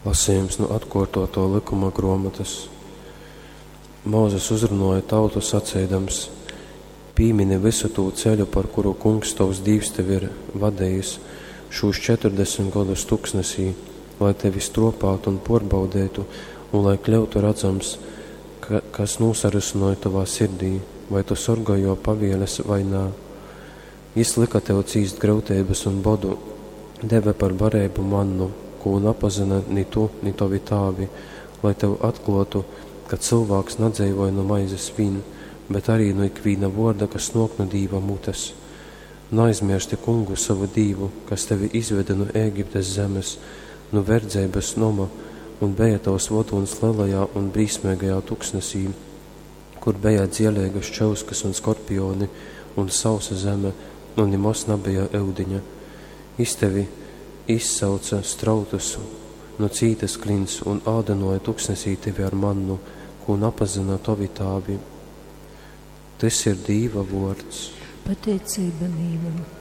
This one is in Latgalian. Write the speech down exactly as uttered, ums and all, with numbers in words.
Lasījums nu atkuortuotuo lykuma gruomotys. Mozus uzrunuoja tautu saceidams: Pīmini vysu tū ceļu, par kuru Kungs tovs Dīvs tevi ir vadejis šūs četrudesmit godus tuksnesī, lai tevi struopātu un puorbaudeitu un lai kļyutu radzams, ka, kas nūsarysynoj tovā sirdī, vai tu sorgoj juo pavieles vai nā. Jis lyka tev cīst gryuteibys un bodu, deve par bareibu mannu, kū napazyna ni tu, ni tovi tāvi, lai tev atkluotu, ka cylvāks nadzeivoj nu maizes vīn, bet arī nu ikvīna vuorda, kas nuok nu Dīva mutes. Naaizmiersti Kungu sovu Dīvu, kas tevi izvede nu Ēgiptes zemes, nu verdzeibys noma, un beja tovs vodūns lelajā un brīsmeigajā tuksnesī, kur beja dzieleigas čyuskas un skorpioni un sausa zeme, un nimoz nabeja eudiņa. Jis tevi izsauca strautus nu cītas klints un ādynuoja tuksnesī tevi ar mannu, kū napazyna tovi tāvi. Tys ir Dīva vuords. Pateiceiba Dīvam.